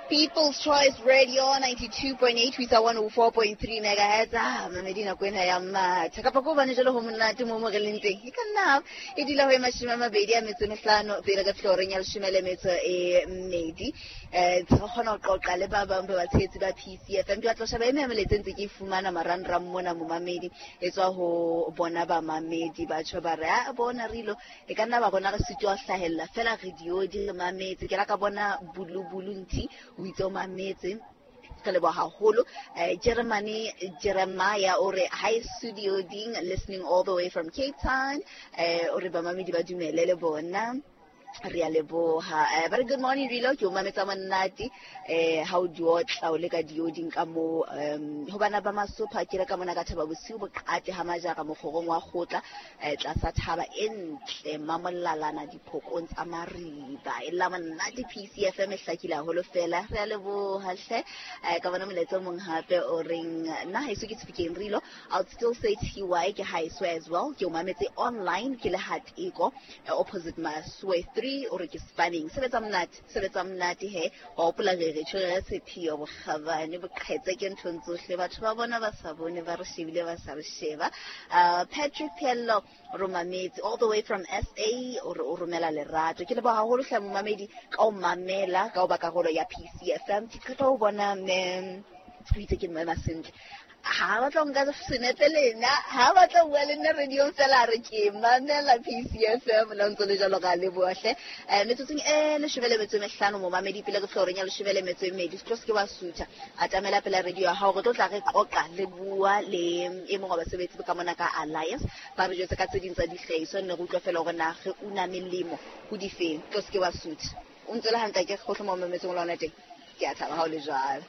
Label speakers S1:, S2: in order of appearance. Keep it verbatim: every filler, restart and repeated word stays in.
S1: People's Choice Radio ninety-two point eight ho isa one oh four point three megahertz. Ah, mamedi nako ena ya matha. Kapa ko hobane jwale ho monate mo mo re leng teng. E ka nna e dula ho e mashome a mabedi a metso e mehlano pele ka fihla horeng ya leshome le metso e mmedi. Eh, re kgona ho qoqa le ba bang ba batshehetsi ba P C F M. Ke batla ho sheba e meng ya melaetsa e ntse ke e fumana marangrang mona momamedi. E tswa ho bona bamamedi ba tjho ba re, ah, bona re ilo. E ka nna ba rona re sitwa ho hlahella fela re diodi re mametse. Ke la ka bona bulubulu nthi o itse o mametse. Re leboha haholo. Eh, Jeremane Jeremiah o re hi studio ding listening all the way from Cape Town. Eh, o re bamamedi ba dumele le bona. Re a leboha. Eh, very good morning Rilo, ke o mametsa monate. Eh, ha o di otla o le ka dioding ka mo, um, ho bana ba Masopha ke re ka mona ka thaba bosiu boqate ha majara mokgorong wa kgotla, eh, tlasa thaba e ntle mamolalana diphokong tsa mariba. E la monate P C F M e hlakile haholo fela. Re a leboha hle. Eh, ka bona molaetsa o mong hape o reng nna haeso ke Tshifikeng Rilo, I'll still say T Y ke haeso as well. Ke o mametse online ke le Hateko, eh, opposite Maswe three o re ke spanning. Sebetsa monate, sebetsa monate he. Wa hopola re re tjho re sephio bokgabane boqhetse ke nthong tsohle. Batho ba bona ba sa bone ba re shebile ba sa re sheba. Uh, Patrick Pello romametse all the way from S A o re o romela lerato. Ke leboha haholo hle momamedi ka o mamela ka o ba karolo ya P C F M. Ke qeta ho bona mme o itse ke mme Masentle. Ha ba tlo nka senepe le nna, ha ba tlo bua le nna radio fela re ke mamela P C F M la ntse le jalo ka leboha hle. Eh, metsotsong e leshome le metso e mehlano momamedi pele re fihla horeng ya leshome le metso e mmedi, se tlo se ke wa sutha. Atamela pela radio ya hao, re tlo tla re qoqa le bua le e mong wa basebetsi ka mona ka Alliance. Ba re jwetse ka tse ding tsa dihlahiswa, nne re utlwa fela hore na re una melemo ho difeng. Tlo se ke wa sutha. O ntse le hantle ke kgohle mo mametseng lona teng. Ke a thaba ha o le jwalo.